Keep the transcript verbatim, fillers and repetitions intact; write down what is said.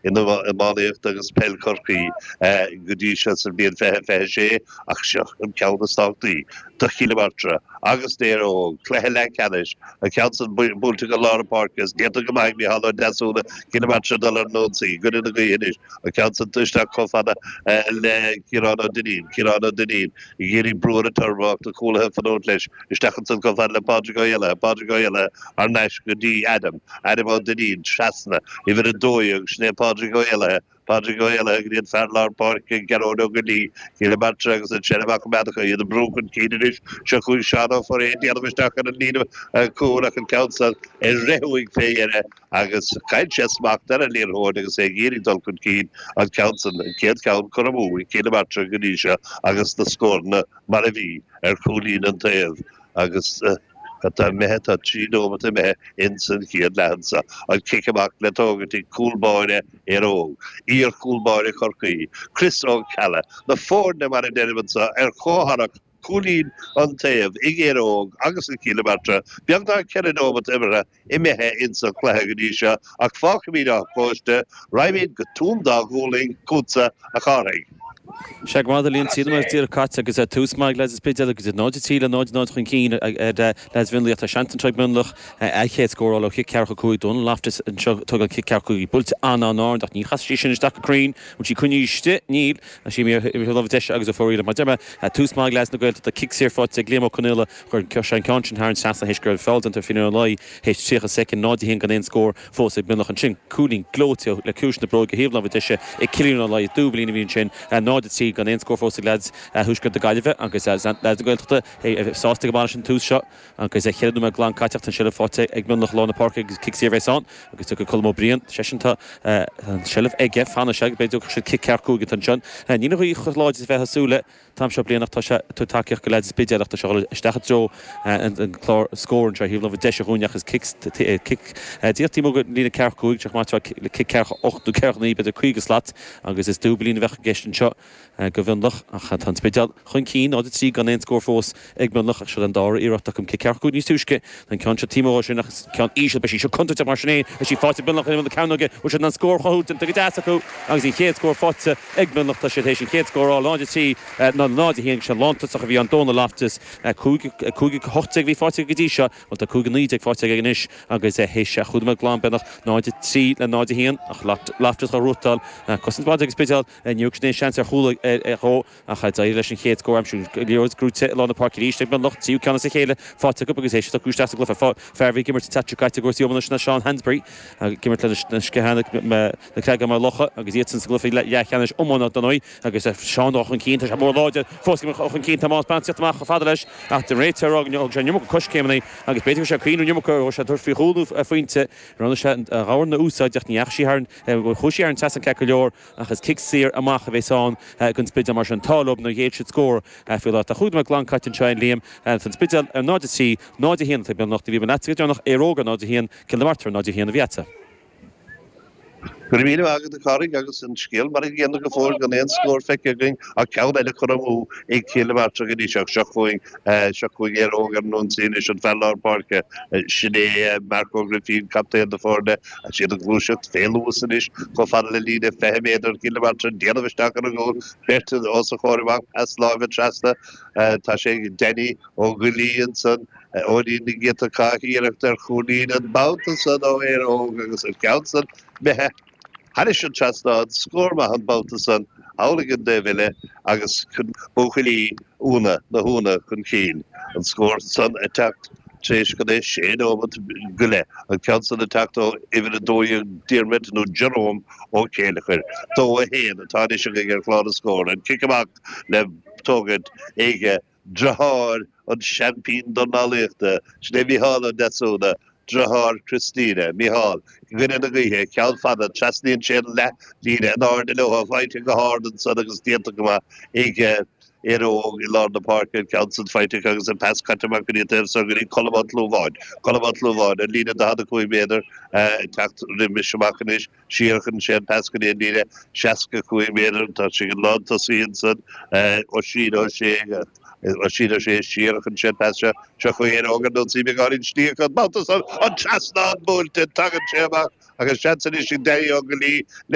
in iománaíocht agus peil Chorcaí go dtí seo sa bhliain fiche fiche sé ach seo an ceann is tábhachtaí do Chill na Martra agus d'Éire Óg, cluiche leathcheannais, an ceann san buailte go lár na páirce is déanta go maith ag Micheál Ó Deasúna, Cill na Martra ag dul ar an ionsaí i gcoinne na gaoithe anois, an ceann san isteach chomh fada le Ciarán Ó Duinnín, Ciarán Ó Duinnín ag iarraidh brú ar an turbo ach na cúlaithe ag fanúint leis, isteach ansan chomh fada le Pádraig Ó hÉallaithe, Pádraig Ó hÉallaithe thar n-ais go dtí Adam, Adam Ó Duinnín trasna, uimhir a dó dhéag, sin é Pádraig Ó hÉallaithe, Pádraig Ó hÉallaithe go dtí an fear lár páirce, Gearóid Ó Goillí, Cill na Martra agus an tseilbh acu Meadacha, iad ag brú chun cinn anois. Seo chugainn Seán Ó Foirréidh ag déanamh isteach ar an líne cúil ach an ceann san ag rith uaidh fé dheireadh agus chaill sé smacht ar an liathróid agus é ag iarraidh dul chun cinn an ceann san, an chéad cheann curtha amú ag Cill na Martra go dtí seo agus na scóranna mar a bhí ar chúilín an taobh agus cad tá imithe, tá trí nóimeat imithe ins an chéad leath anso. An cic amach le tógaint ag cúl báire Éire Óg, iar-chúl báire Chorcaí, Chris Ó Ceallaigh, na foirne mar a deirim anso ar chomhtharrac cúilín an taobh ag Éire Óg agus ag Cill na Martra, beagnach ceithre nóimeat imeartha imithe ins an chluiche go dtí seo ach fágfaimid Áth Cóiste, raghaimid go Tuaim Dá Ghualainn chugatsa a Chárthaigh. Sea, go maith a Liam, trí nóiméad díreach caite agus tús maith ag leaids an Spidéil agus iad náid a trí le náid a náid chun cinn ar leaids Mhionlaigh. Tá seans anseo ag Mionlach a chéad scór a fháil ó chic ceathracha cúig. Dónal Loftus anseo ag tógáil cic ceathracha cúig. Buailte an-an-ard ach ní chasfaidh sí sin isteach go cruinn. Bhfuil sí coinnithe istigh? Níl. Tá sí imithe ar lámh deise agus ó fóraíl. Mar a deir mé, tús maith ag leaids na Gaeltachta. Cic saor faighte ag Liam Ó Conaola. Chuir sé an ceann sin thar an trasnán théis go raibh feall déanta ar Finian Ó Laoi théis tríocha soicind. Náid a haon gan aon scór fós ag Mionlach ansin. Cúilín gleoite le ciumhais na bróige thaobh láimhe deise ag Cillian Ó Laoi. Dúbailín a bhí ansin. náid a trí gan aon scór fós ag leaids Thuaisceart na Gaillimhe agus leaids na Gaeltachta sásta go maith leis an tús seo agus ceithre nóiméad glan caite ach tá an seilbh faighte ag Mionlach lár na páirce agus cic saor a bheas ann agus tiocfaidh Colm Ó Briain, seisean tá an seilbh aige, fanfaidh sé agus b'fhéidir go dtiocfaidh siad cic ceathracha cúig ansin. Níl an ghaoth chomh láidir is a bheifeá ag súil le an t-am seo bliana ach tá sé ag tabhairt tacaíocht go leaids an Spidéil ach tá sé ag dul isteach i dtreo an clár scóir anseo thaobh láimhe deise dhúinn ach is cic cic díreach taobh amuigh den líne ceathracha cúig, teach maith le cic ceathracha ocht nó ceathracha naoi b'fhéidir caoga slat agus is dúbailín a bheadh i gceist anseo do Mhionlach ach tá an Spidéal chun cinn, náid a trí gan aon scór fós ag Mionlach ach seo an dara iarracht acu cic ceathracha cúig níos túisce. Tá an ceann seo taobh amuigh dhó sin ach is ceann íseal, beidh sí seo contúirteach mar sin féin. Tá sí faighte ag Mionlach in imeall na cearnóige, bhfuil siad in ann scór a chruthú, déanta go deas acu agus an chéad scór faighte ag Mionlach. Tá siad théis an chéad scór a fháil, náid a trí ná náid a haon agus sé lántosach a bhí ann Dónal Loftus. Cúig cúig a hocht déag a bhí faighte aige go dtí seo, bhuel tá cúig a naoi déag faighte aige anois agus théis chúig nóiméad glan beagnach, náid a trí le náid a haon ach Loftus á ghnóthachtáil. Cosaint mhaith ag an Spidéal, níor thug siad aon seans ar chúl dhó ach d'éirigh leis an chéad scór a aimsiú. Liathróid gnóite i lár na páirce arís ag Mionlach, tríú ceann as a chéile faighte acu agus é seo acu isteach sa gcluiche. Fear a bhí ag imirt an tseachtain seo caite i gcúrsaí iomána sin ná Seán Hansberry, ag imirt leis na Sciathánaigh, na Creagáin Maigh Locha agus iadsan sa gcluiche leathcheannais iomána dar ndóigh agus Seán dul chun cinn, tá sé mór láidir fós ag imirt chun cinn, tá Tomás Bantz ag teacht amach chomh fada leis ach an réiteoir ag rá go thug sé an iomarca coiscéimeanna agus b'fhéidir go raibh sé ag cuimhneamh an iomarca go raibh sé ag tabhairt faoi chúl nó phointe. Roghnaigh sé a dhorn a úsáid ach ní dheachaigh sí thar an, chuaigh sí thar an trasnán ceart go leor ach is cic saor amach a bheas ann don Spidéal mar sin tá leo nár ghéill siad scór faoi láthair. Tá chúig nóiméad glan caite anseo a Liam. Tá an Spidéal ar náid a trí, náid a haon atá ag Mionlach. Ní bhí mé leatsa go deireanach, Éire Óg ar náid a haon, Cill na Martra ar náid a haon a bhí agatsa. Go raibh míle maith agat a Chárthaigh agus an scéal mar an gcéanna go fóill gan aon scór feicthe againn ach ceann eile curtha amú ag Cill na Martra go dtí seo. Seo chugainn seo chugainn Éire Óg ar an ionsaí anois an fear lár páirce sin é Marc Ó Grifín, captaen na foirne. Tá siad ag gluaiseacht fé luas anois chomh fada le líne fiche méadar Chill na Martra ag déanamh isteach ar an gcúl, beirt os a chomhair amach, pas láimhe trasna. Tá sé ag Danny Ó Goillí ansan. Eoinín na gCianta Cách iarracht ar chúilín an babhta san ó Éire Óg agus an ceann san imithe thairis an trasnán, scór maith an babhta san thall ag an dtaobh eile agus buachaillí Úna, na hÚna chun cinn. An scór san ag teacht tar éis gan é sé nóimeat go leith, an ceann san ag teacht ó uimhir a dó dhéag Diarmuid nó Jerome Ó Céileachair. Dó a haon atá anois againn ar chlár na scór. An cic amach le tógaint ag Deartháir an seaimpín dornálaíochta, sin é Micheál Ó Deasúna, deartháir Christina. Micheál, i gcoinne na gaoithe, ceann fada, trasnaíonn sé an leath-líne in airde leo, faighte go hard ansan agus déanta go maith ag Éire Óg i lár na páirce, an ceann san faighte acu agus an pas caite amach go dtí an taobh soir go dtí Colm Ó Tlúmháin. Colm Ó Tlúmháin, an líne daichead a cúig méadar, ag teacht roimis amach anois. Siar chuireann sé an pas go dtí an líne seasca cúig méadar. Tá sé ag an lántosaí ansan, Oisín Ó Sé. Oisín Ó Sé siar a chuireann sé an pas seo. Seo chugainn Éire Óg ar an ionsaí beagáinín slí acu an babhta san. An trasnán buailte, tagann sé amach agus seans anois ag Danny Ó Goillí le